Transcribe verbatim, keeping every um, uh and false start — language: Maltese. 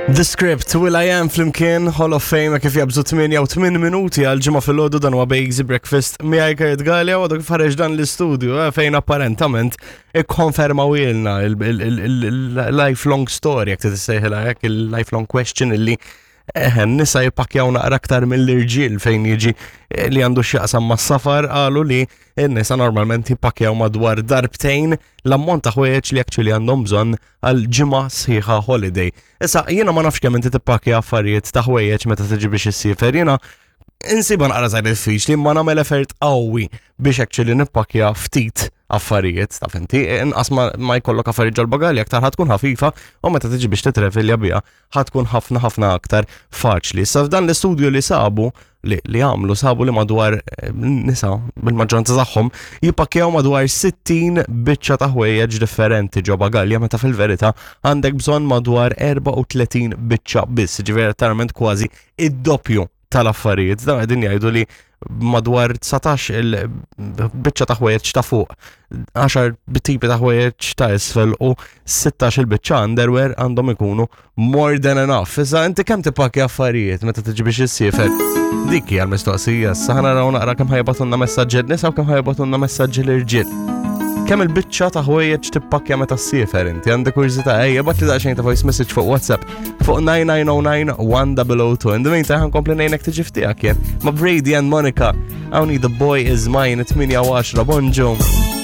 The Script, Will I Am flimkien, Hall of Fame, kif jabżu tmienja u tmien minuti għal ġimgħa filgħodu. Dan huwa Bejgzi Breakfast miegħi Kurt Galea, u għadu kif ħareġ dan l-istudju eh, fejn apparentament ikkonfermaw ilna il-lifelong story, jekk tissejħilha hekk, il-lifelong question illi eh, nisa jippakjaw naqra aktar mill-irġiel fejn jiġi eh, li għandu x'jaqsam mas-safar. Qalu li n-nisa normalment jippakjaw madwar darbtejn l-ammont ta' ħwejjeġ li actually għandhom bżonn għal ġimgħa sħiħa holiday. Issa jiena ma nafx kemm inti tippakja affarijiet ta' ħwejjeġ meta tiġi biex issiefer. Jiena insiba naqra żgħir diffiċli, ma nagħmel effort qawwi biex actually nippakja ftit affarijiet, taf inti, inqas ma, ma jkollok affarijiet ġol-bagalja, aktar ħa tkun ħafifa u meta tiġi biex titrevilja biha ħa tkun ħafna ħafna aktar faċli. Sa f'dan l-istudju li sabu li, li għamlu, sabu li madwar eh, nisa bil-maġġoranza tagħhom jippakjaw madwar sittin biċċa ta' ħwejjeġ differenti ġo bagalja, meta fil-verità għandek bżonn madwar erbgħa u tletin biċċa biss, ġifieri letteralment kważi id-doppju tal-affarijiet. Dan qegħdin jgħidu li madwar dsatax il-biċċa ta' ħwejjeġ ta' fuq, għaxar tipi ta' ħwejjeġ ta' isfel u sittax il-biċċa underwear għandhom ikunu more than enough. Issa inti kemm tippakja affarijiet meta tiġi biex issiefer? Dik hija l-mistoqsija. Issa ħa naraw naqra kemm ħa jibagħtulna messaġġi nisa u kemm ħa jibagħtulna messaġġi l-irġiel. Kemm il-biċċa ta' ħwejjeġ tippakja meta ssiefer inti? Għandek kurżità? Ejja, ibgħatli daqsxejn ta' voice message fuq WhatsApp fuq nine nine zero nine one zero zero two. In the meantime, ħa nkompli ngħinek tiġi f'tiegħek jien ma' Brady and Monica. Hawn The Boy Is Mine, tmienja u għaxra, bonġu.